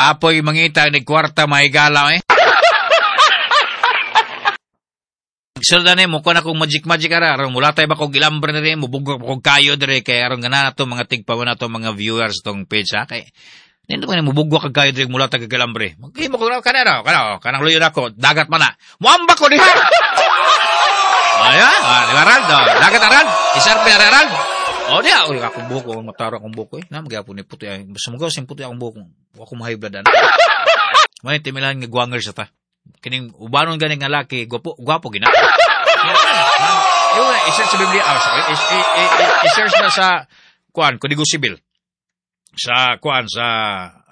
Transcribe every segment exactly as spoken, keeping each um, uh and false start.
Kapoy mangita ni kwarta mahigala eh. Sulda ni mo kuan akong magic magic ara aron mulatay ba kog ilambre na rin mubugok kog kayo dire kay aron gana nato mga tigpawan nato mga viewers tong page ha kay nindot man mubugok kag kayo dire mulatay kag ilambre. Maghimo ko kana ra kana kanang luyo nako dagat man na. Muamba ko diha. Aya, ah, di ba Rald? Oh, dagat Arald. Isarpe ara Arald. O diha, ul akong buhok, mataro akong buhok eh. Na magyapon ni puti ay. Basta mo sing puti akong buhok. Wa ko mahay blood ana. May timilan nga guwanger sa ta. Kining ubanon gani nga laki, gwapo, gwapo gina. Ewa, i-search sa Biblia, ah, sorry, i-search na sa kuan, Kodigo Sibil. Sa kuan sa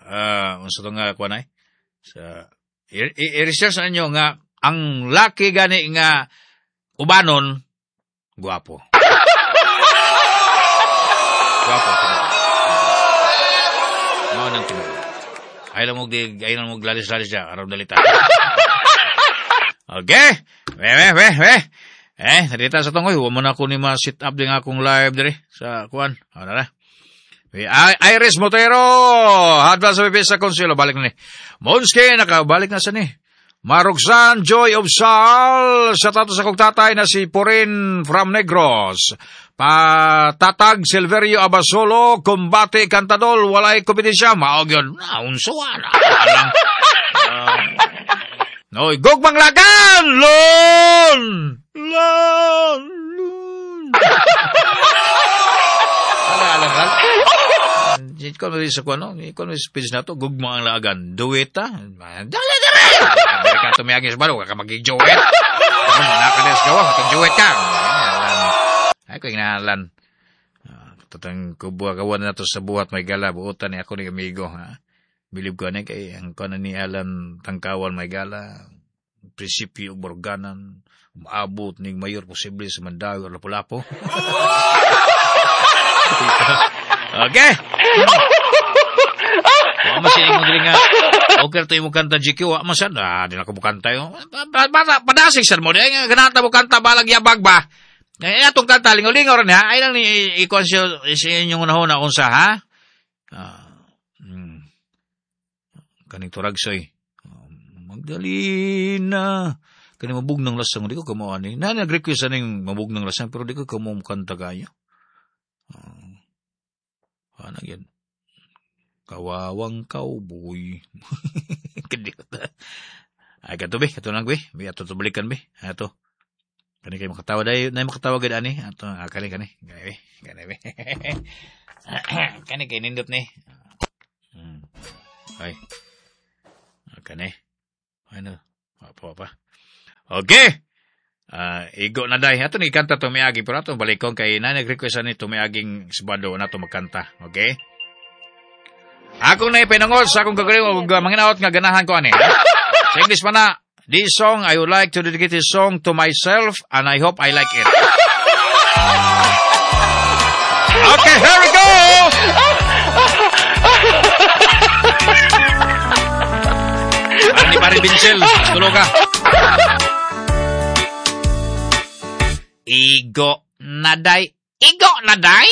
uh, unsa to nga kuan ay? Sa i-research na ninyo nga ang laki gani nga ubanon gwapo. Gwapo. Mao nang tinuod. Ay lang mo di ay lang mo lalis-lalis siya araw dalita. Okay. We we we we. Eh, narita sa tungoy, wa man ako ni ma-sit up din akong live diri sa kuan. Ano na? We Iris Motero, hadla sa B P sa Consuelo, balik na ni. Monski, nakabalik na sa ni. Maruksan Joy of Sal, sa tato sa kong tatay na si Porin from Negros. Patatag Silverio Abasolo, Kumbate Cantadol, walay kompetensya, maog yun. Naunsuan, alang. Uh, Noy, gugmang lagan! Lon! Lon! Lon! Ala, ala, ala. Ikaw mo sa kuno, ikaw mo sa page na to, gugmang ang lagan. Dueta? Dali, dali! Dali ka tumiyagin sa balo, ka magig-duet. Nakades ka, mag-duet ka. Ay, ko inahalan. Tatang kubuha kawan na to sa buhat, may gala, buotan ni ako ni amigo, ha? Bilib ko ni kay ang kanan ni Alan Tangkawan may gala, prinsipyo borganan, umaabot ning mayor posible sa Mandawi or Lapu-Lapu. Okay. Wa man siya imong diri nga okay to imong kanta G Q, wa man sad. Ah, di na ko mukanta yo. Padasig sad mo di nga ganata mo kanta balag yabag ba. Kaya atong kanta lingaw-lingaw ra niya, ay lang ni i-conscious sa inyong unahon unsa ha. Ah, mm. Kaning turagsoy. Magdalena. Kani mabugnang lasang di ko kamo ani. Na nag-request aning mabugnang lasang pero di ko kamo kanta kayo. Uh, ano yan? Kawawang cowboy. Kadiyot. Ay, kato be. Kato lang be. Be, ato balikan be. Ato. Kani kayo makatawa dayo. Nay makatawa gad ani. Ato, ah, kani, kani. Kani be. Kani be. Kani kay nindot ni. Hmm. Ay. Kani. Ano? Pa, pa. Okay. Uh, igo na day. Ato ni kanta tumiagi. Pero ato balikon kay na nag-request ani tumiaging Sabado na to magkanta. Okay? Akong naipinangol sa akong kagaling og manginaot nga ganahan ko ani. Sa English pa na, this song, I would like to dedicate this song to myself and I hope I like it. Okay, here we go! Para ni Pare Vincel, tulog ka. Igo naday. Igo naday!